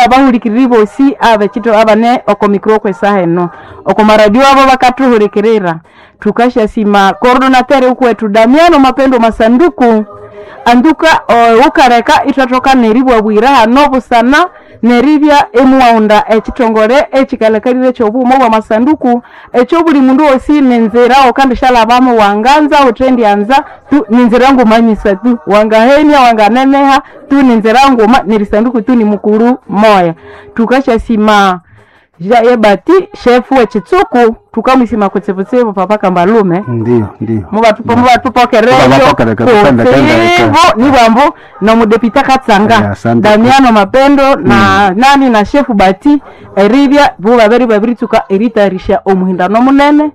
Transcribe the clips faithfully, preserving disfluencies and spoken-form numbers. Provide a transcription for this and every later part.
N'abahulikiriri bosi abekito abane oko mikro kwesaha eno oko maradio abo bakathuhulikirira. Tukasyasima coordonateur ukwetu Damiano Mapendo Masanduku anduka o, ukareka ithwathoka neribwabwira hano busana neribya emuwaghunda ekithongole ekikalekalire ekyobughuma bwamasanduku, ekyo buli mundu wosi ninzira wukandishalhabamu wanganza wuthendyanza tu ninzira nguma nyisa tu, wangahenia wanganeneha tu ninzira nguma nerisanduku tu nimukuru moya. Tukasyasima ja ebati shefu wekitsuku, tukamwisima kutsibutsibu papa Kambalume. Ndiyo, ndiyo. Mubatupo mubatupokereyo Mubabapokereka, kutsibu nibwambu nomudepita Katsanga. Eh, asante. Damiano Mapendo na nani na shefu Bati eribya bo babiri babiritsuka eritayarisha omuhindano munene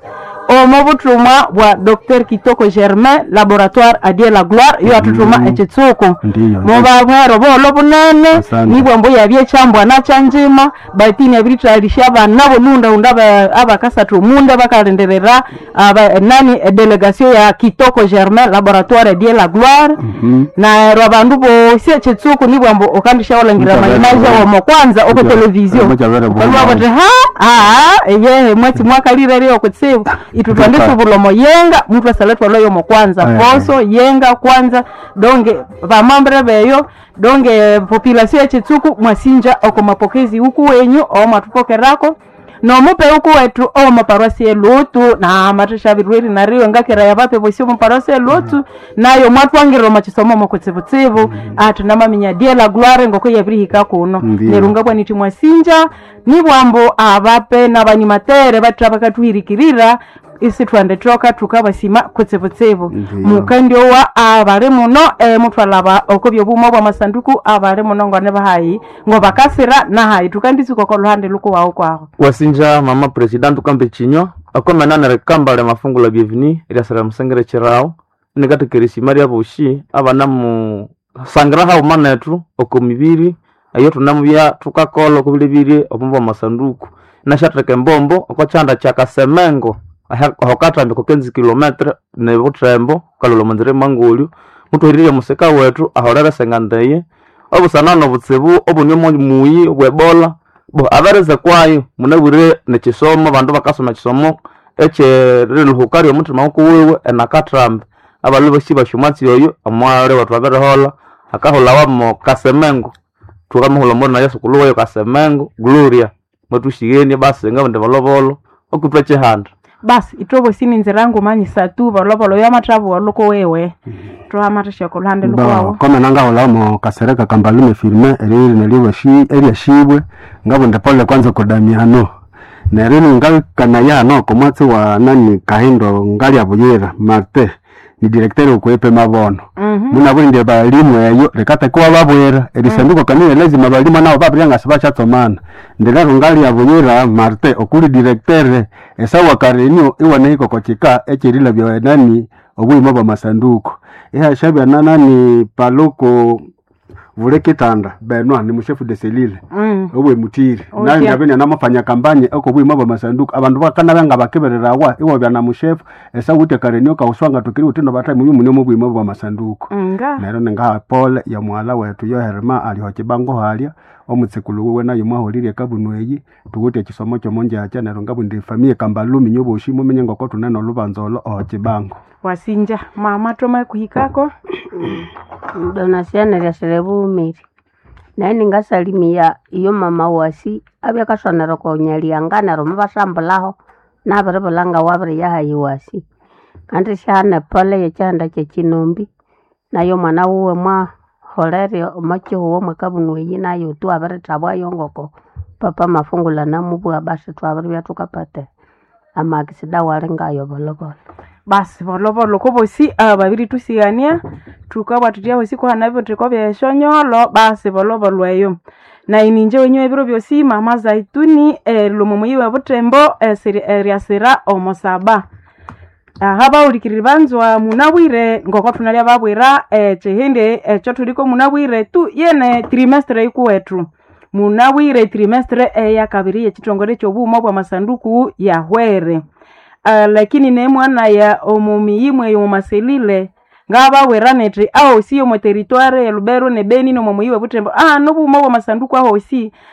omo buthumwa bwa Docteur Kitoko Germain, laboratoire Adie la Gloire, yo athuthuma ekitsuku. Ndiyo, ndiyo. Mubabwero bolo bunene. Asante. Nibwambu yabye ekyambwa nakyanjima batini abiritayarisha abana bomunda aba- abakasathu omunda bakalindirira aba, nani edelegation ya Kitoko Germain, laboratoire Adie la Gloire. Mhm. Neryo abandu bosi ekitsuku nibwambu ukandishawalangira Mukyabere mayimaja bw'omu. womo kwanza oko Mukyabere- televizio mukyabere bw'omu. ukalwa buthi ha aa eyehe mwatsi mwakalire okutsibu itu twandisubula omo yenga muthu asala twalwayo omo kwanza. Eh. Poso yenga kwanza donge vamambre beyo donge population ekitsuku mwasinja oko mapokezi uku wenyu omwathupokerako nomupe uku wetu omo parosi elutu na mathishabirweri nariyo ngakera yabape bosi omo parosi elutu nayo mwatwangirira omo kisomo omo kutsibutsibu ati namaminya Die la Gloire ngoko yabirihika kuno. Ndiyo. Neryo ngabwa nithi mwasinja nibwambu abape nabanimatere batha bakathuhirikirira isithwandithoka thukabasima kutsibutsibu. Ndiyo. Mukandiowa abali muno eh, muthwalaba oko byobuma bwamasanduku abali muno ngone bahayi ngobakasira nahayi tukandisuka oko luhande lukuwawu kwaho. Wasinja mama president, ukambe chinywa akomenana rikamba lya mafungu la bienvenue lyasira musengere chirao nikatekeresima lya boshi abana mu sangira hauma nethu oko mibiri eyo tunamubya thukakola okubilebirye obumba bwa masanduku nashatheka embombo oko kyanda kya Kasemengo aha- aho kathambi kokenzi kilometre nebuthembo kalolha omunzira emangolyo muthuhirire musika wethu aholere sengandeye obusana nobutsibu obune muyi obwebola bo abereze kwayo munabwire nekisomo abandu bakasoma ekisomo ekyeriluhuka lyomuthima wukuwiwe enakathambi abalhu bosi basyomatsi oyo omwali wethu abiriholha akahulhawa mo Kasemengo thukamuhulha omuli naye sukulu weyo Kasemengo Gloria mwathuxighenie basi ngabindi bolobolo okutwa kyihanda. Basi ithwe ninzira ngumanyisa tu bolobolo yamathabuwa luko wewe thwamathisha oko luhande Bo, lukuwawu. kome nangahulhamo Kasereka Kambalume Firme eriri neryo eryashibwe ngabunda pole kwanza kodamiano neryo ngakanaya hano oko mwatsi wa nani Kahindo ngalya Buyira Marte ni directeur okwepe mabono. Mhm. Munabwire balimu eyo likatekewa babwira erisanduko kanile lazima balimu nabo babirya nga sibakyatsomana ndilero ngalya Buyira Marte okuli directeur esawa karenio iwanahika oko kika ekyerilabya nani obuyima bwamasanduku ihashabya na nani paluku Vulekitanda Benwa ni mushefu de selile Mm. obwe mutiri Okay. nayo ndabene namafanya kampanye oko bwima bwa masanduku abandu bakana nga bakebererawa iwabya na mushefu esawute karenio kauswanga tukiri utino batai muyu munyo mu bwima bwa masanduku. Nga Neryo ningaha pole ya muhala wetu yoherema aliho kibango halya omutsikulu wiwe nayo mwahulirye kabunu eyi tuwithe ekisomo kyomonjakya neryo ngabundi efamiye Kambalumi nyoboshi mumenye ngoko thune nolubanza olo oho kibango. Wasinja mama thoma kuhikako. Donasiana lyasire bughumire naye ningasalimia iyo mama wasi abya akasonera okonyalianga neryo mubasambulhaho nabiribulha ngawabiriya hayi wasi kandi syahana epole yekyihanda kyekinombi nayo omwana wuwe mwaholere omwakyihugho mwakabunu eyi nayo tu abirithabwayo ngoko papa Mafungula namubugha basi thwabiribya thukapata amakisida wali ngayo bolhobolho. Basi bolobolo kobosi ababiri tusigania thukabwa thuthya hosi kuhana ebitheko byesyonyolo basi bolobolo eyo na ininje wenyu ebiro byosi mama Zaituni erilomo muyi wa Butembo esiri- eryasira omosaba aha bawulikiriri banzwa munabwire ngoko thunalya babwira ekyihindi ekyo thuliko munabwire tu yene trimestre ikuwethu munabwire trimestre eyakabiri yekithongole ekyobughuma bwamasanduku yahwere. Uh, lakini nemwana ya omumiyi eyo mumaselile ngabawira nethi ahosi omo territoire ya Lubero ne Beni nomo muyi we Butembo ah nobughuma bwamasanduku ahosi.